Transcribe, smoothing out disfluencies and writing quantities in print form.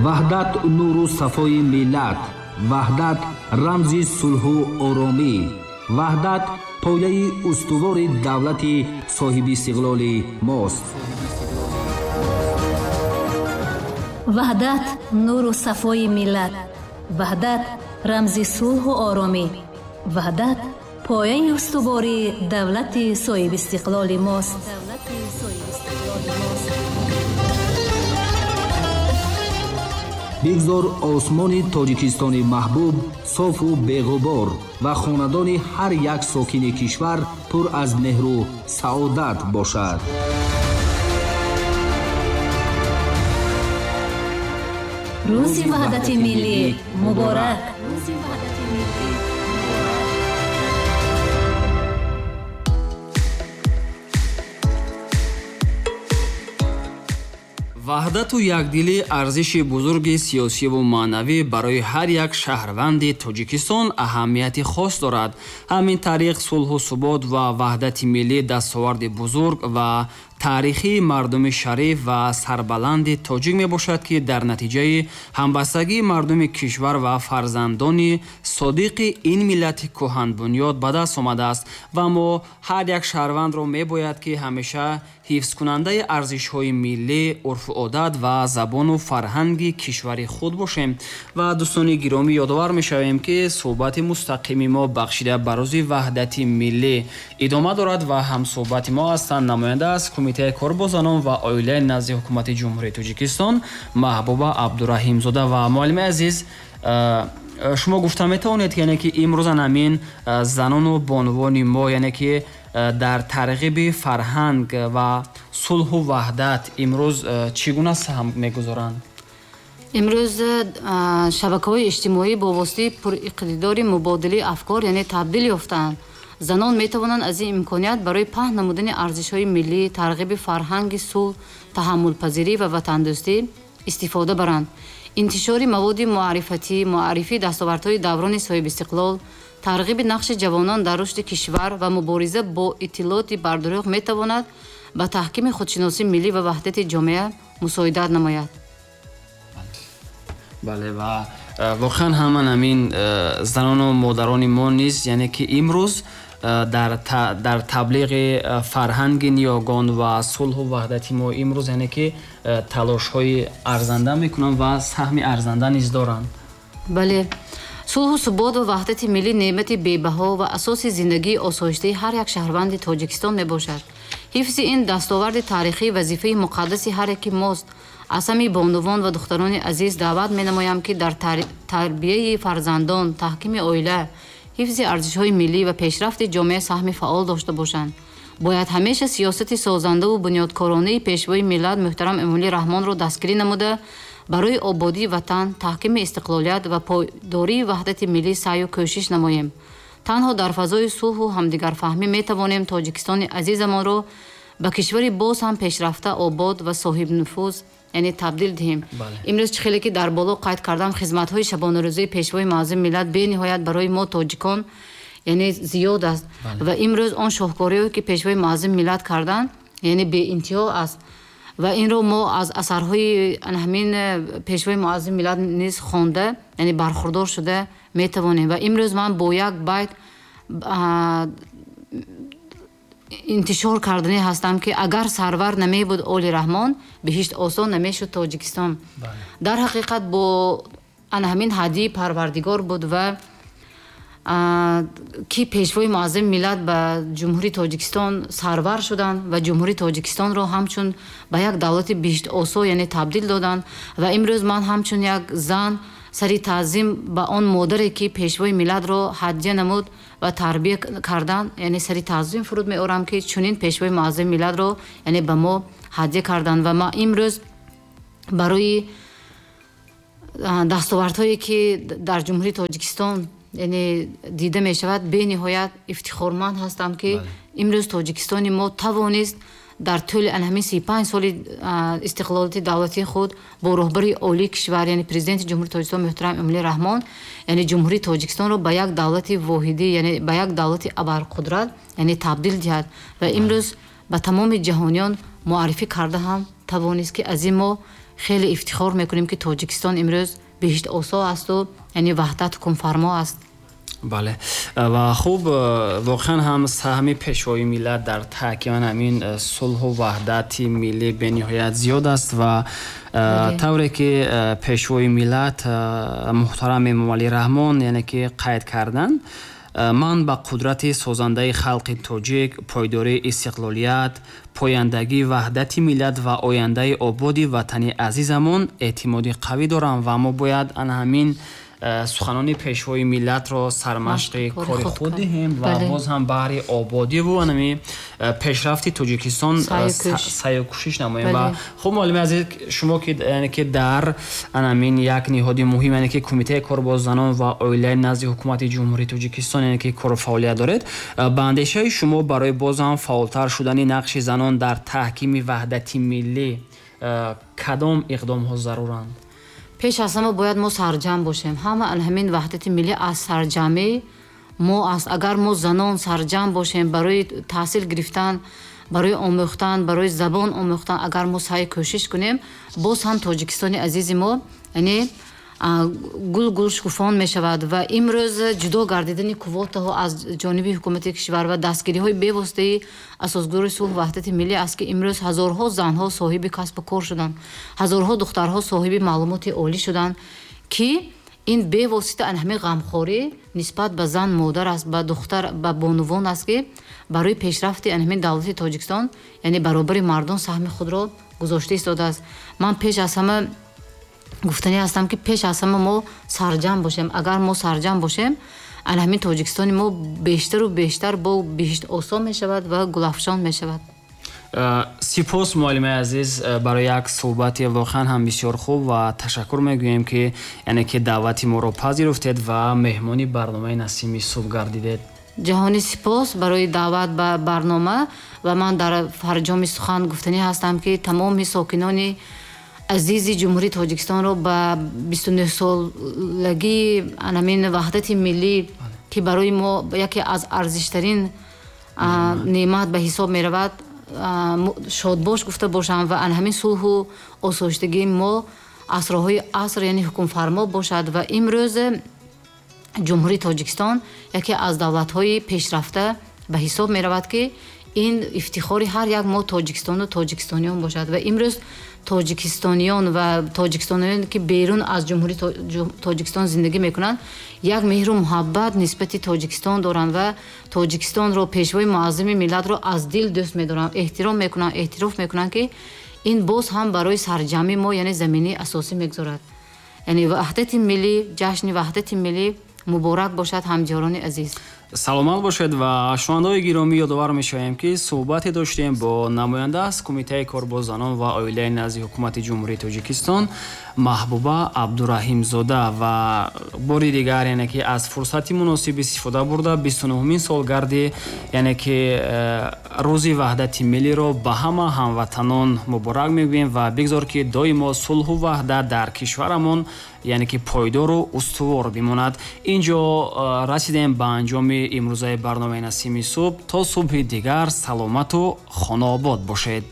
Ваҳдат нуру сафои миллат, ваҳдат рамзи сулҳу оромӣ, ваҳдат пояи устувори давлати соҳибистиқлоли мост. Ваҳдат нуру сафои миллат, ваҳдат рамзи сулҳу оромӣ, ваҳдат пояи устувори давлати соҳибистиқлоли мост. Бигзор осмони Тоҷикистони маҳбуб софу беғубор ва хонадони ҳар як сокини кишвар пур аз меҳру саодат бошад. Рӯзи Ваҳдати Миллӣ муборак! Ваҳдату якдилӣ арзиши бузурги сиёсиву маънавӣ барои ҳар як шаҳрванди Тоҷикистон аҳамияти хос дорад. Ҳамин тариқ сулҳу субот ва ваҳдати миллӣ дастоварди бузург ва таърихии мардуми шариф ва сарбаланди тоҷик мебошад, ки дар натиҷаи ҳамбастагии мардуми кишвар ва фарзандони содиқи ин миллати кӯҳанбунёд ба даст омадааст. Ва мо ҳар як шаҳрвандро мебояд, ки ҳамеша ҳифзкунандаи арзишҳои миллӣ, урфу одат ва забону фарҳанги кишвари худ бошем. Ва дӯстони гиромӣ, ёдовар мешавем, ки суҳбати мустақими мо бахшида ба рӯзи ваҳдати миллӣ идома дорад ва ҳамсуҳбати мо ҳастанд намоянда аз Кумитаи кор бо занон ва оилаи назди Ҳукумати Ҷумҳурии Тоҷикистон Маҳбуба Абдураҳимзода. Ва муаллими азиз, шумо гуфта метавонед, яъне ки имрӯзан ҳамин занону бонувони мо, яъне ки дар тарғиби фарҳанг ва сулҳу ваҳдат имрӯз чӣ гуна саҳм мегузоранд? Имрӯз шабакаҳои иҷтимоӣ бо воситаи пуриқтидори мубодилаи афкор, яъне табдил ёфтаанд. Занон метавонанд аз ин имконият барои паҳн намудани арзишҳои миллӣ, тарғиби фарҳанги сулҳ, таҳаммулпазирӣ ва ватандӯстӣ истифода баранд. Интишори маводи муаррифатӣ, муаррифии дастовардҳои даврони соҳибистиқлол, тарғиби нақши ҷавонон дар рушди кишвар ва мубориза бо иттилооти бардурӯғ метавонад ба таҳкими худшиносии миллӣ ва ваҳдати ҷомеа мусоидат намояд. Бале, ва воқеан ҳаман ҳамин занону модарони мо низ, яъне ки имрӯз дар таблиғи фарҳанги ниёгон ва сулҳу ваҳдати мо имрӯз, яъне ки талошҳои арзанда мекунанд ва саҳми арзанда низ доранд. Бале, сулҳу субот ва ваҳдати миллӣ неъмати бебаҳо ва асоси зиндагии осоиштаи ҳар як шаҳрванди Тоҷикистон мебошад. Ҳифзи ин дастоварди таърихӣ вазифаи муқаддаси ҳар яки мост. Аз ҳамин бонувон ва духтарони азиз даъват менамоям, ки дар тарбияи фарзандон, таҳкими оила, ҳифзи арзишҳои миллӣ ва пешрафти ҷомеа саҳми фаъол дошта бошанд. Бояд ҳамеша сиёсати созандаву бунёдкоронаи пешвои миллат муҳтарам Эмомалӣ Раҳмонро дастгирӣ намуда, барои ободии ватан, таҳкими истиқлолият ва пойдории ваҳдати миллӣ саъю кӯшиш намоем. Танҳо дар фазои сулҳу ҳамдигарфаҳмӣ метавонем Тоҷикистони азизамонро ба кишвари боз ҳам пешрафта, обод ва соҳибнуфуз, яъне табдил диҳем. Имрӯз чӣ хеле ки дар боло қайд кардам, хизматҳои шабонарӯзии пешвои муаззами миллат бениҳоят барои мо тоҷикон, яъне зиёд аст. Ва имрӯз он шоҳкориҳое ки пешвои муаззами миллат карданд, яъне беинтиҳо аст. Ва инро мо аз асарҳои ҳамин пешвои муаззами миллат низ хонда, яъне бархурдор шуда метавонем. Ва имрӯз ман бо як байт интишор кардани ҳастам, ки агар сарвар намебуд Оли Раҳмон, биҳишт осон намешуд Тоҷикистон. Дар ҳақиқат бо ҳамин ҳадии Парвардигор буд ва ки пешвои муаззами миллат ба Ҷумҳурии Тоҷикистон сарвар шуданд ва Ҷумҳурии Тоҷикистонро ҳамчун ба як давлати биҳиштосо, яъне табдил доданд. Ва имрӯз ман ҳамчун як зан сари таъзим ба он модаре ки пешвои миллатро ҳадя намуд ва тарбия кардан, яъне сари таъзим фуруд меорам, ки чунин пешвои муаззами миллатро, яъне ба мо ҳадя карданд. Ва ма имрӯз барои дастовардҳое ки дар Ҷумҳурии Тоҷикистон, яъне дида мешавад, бениҳоят ифтихорманд ҳастам, ки имрӯз Тоҷикистони мо тавонист дар тӯли ҳамин 35 соли истиқлолияти давлатии худ бо роҳбари олии кишвар, яъне президенти Ҷумҳурии Тоҷикистон муҳтарам Эмомалӣ Раҳмон, яъне Ҷумҳурии Тоҷикистонро ба як давлати воҳидӣ, яъне ба як давлати абарқудрат, яъне табдил диҳад. Ва имрӯз ба тамоми ҷаҳониён муаррифӣ карда ҳам тавонист, ки аз ин мо Хеле ифтихор мекунем, ки Тоҷикистон имрӯз биҳиштосо асту, яъне ваҳдат ҳукмфармо аст. Бале, ва хуб, воқеан ҳам саҳми Пешвои миллат дар таҳкими ҳамин сулҳу ваҳдати миллӣ бениҳоят зиёд аст ва тавре ки Пешвои миллат муҳтарам Эмомалӣ Раҳмон, яъне ки қайд карданд: ман ба қудрати созандаи халқи тоҷик, пойдории истиқлолият, пояндагии ваҳдати миллат ва ояндаи ободи ватани азизамон эътимоди қавӣ дорам. Ва мо бояд ана ҳамин суханони Пешвои миллатро сармашқи кори худ диҳем ва боз ҳам баҳри ободиву анами пешрафти Тоҷикистон саъю кӯшиш намоем. Ва хуб, муаллими азиз, шумо ки, яъне ки дар анамин як ниҳоди муҳим, яъне ки Кумитаи кор бо занон ва оилаи назди Ҳукумати Ҷумҳурии Тоҷикистон, яъне ки кору фаъолият доред, ба андешаи шумо барои боз ҳам фаъолтар шудани нақши занон дар таҳкими ваҳдати миллӣ кадом иқдомҳо заруранд? Пеш аз ҳама бояд мо сарҷамъ бошем. Ҳама ҳамин ваҳдати миллӣ аз сарҷамъӣ мо аст. Агар мо занон сарҷамъ бошем, барои таҳсил гирифтан, барои омӯхтан, барои забон омӯхтан, агар мо саъй кӯшиш кунем, боз ҳам Тоҷикистони азизи мо, яъне гул гул шукуфон мешавад. Ва имрӯз ҷудо гардидани квотаҳо аз ҷониби ҳукумати кишвар ва дастгириҳои бевоситаи асосгузори сулҳу ваҳдати миллӣ аст, ки имрӯз ҳазорҳо занҳо соҳиби касбу кор шуданд, ҳазорҳо духтарҳо соҳиби маълумоти олӣ шуданд, ки ин бевосита ҳамин ғамхорӣ нисбат ба зан, модар аст, ба духтар, ба бонувон аст, ки барои пешрафти ҳамин давлати Тоҷикистон, яъне баробари мардон саҳми худро гузошта истодааст. Ман пеш аз ҳама гуфтанӣ ҳастам, ки пеш аз ҳама мо сарҷамъ бошем. Агар мо сарҷамъ бошем, ана ҳамин Тоҷикистони мо бештару бештар бо биҳишт осон мешавад ва гулафшон мешавад. Сипос, муаллимаи азиз, барои як суҳбати воқеан ҳам бисёр хуб ва ташаккур мегӯем, ки яъне ки даъвати моро пазируфтед ва меҳмони барномаи Насими субҳ гардидед. Ҷаҳонӣ сипос барои даъват ба барнома. Ва ман дар фарҷоми сухан гуфтанӣ ҳастам, ки тамоми сокинони азизи Ҷумҳурии Тоҷикистонро ба 29-солагии анамин ваҳдати миллӣ, ки барои мо яке аз арзиштарин неъмат ба ҳисоб меравад, шодбош гуфта бошам ва ан ҳамин сулҳу осоиштагии мо асрҳои аср, яъне ҳукмфармо бошад. Ва имрӯз Ҷумҳурии Тоҷикистон яке аз давлатҳои пешрафта ба ҳисоб меравад, ки ин ифтихори ҳар як мо тоҷикистону тоҷикистониён бошад. Ва имрӯз тоҷикистониён ва тоҷикистониён, ки берун аз Ҷумҳурии Тоҷикистон зиндагӣ мекунанд, як меҳру муҳаббат нисбати Тоҷикистон доранд ва Тоҷикистонро, Пешвои муаззами миллатро аз дил дӯст медоранд, эҳтиром мекунанд, эътироф мекунанд, ки ин боз ҳам барои сарҷамъи мо, яъне заминаи асосӣ мегузорад. Яъне ваҳдати миллӣ, ҷашни ваҳдати миллӣ муборак бошад, ҳамдиёрони азиз. Саломат бошед. Ва шунавандаҳои гиромӣ, ёдовар мешавем, ки суҳбате доштем бо намоянда аз Кумитаи кор бо занон ва оилаи назди Ҳукумати Ҷумҳурии Тоҷикистон Маҳбуба Абдураҳимзода. Ва бори дигар, яъне ки аз фурсати муносиб истифода бурда, 29-умин солгарди, яъне ки рӯзи ваҳдати миллиро ба ҳама ҳамватанон муборак мегӯем ва бигзор, ки доимо сулҳу ваҳдат дар кишварамон, яъне ки пойдору устувор бимонад. Инҷо расидем ба анҷоми имрӯзаи барномаи Насими субҳ. То субҳи дигар саломату хонаобод бошед.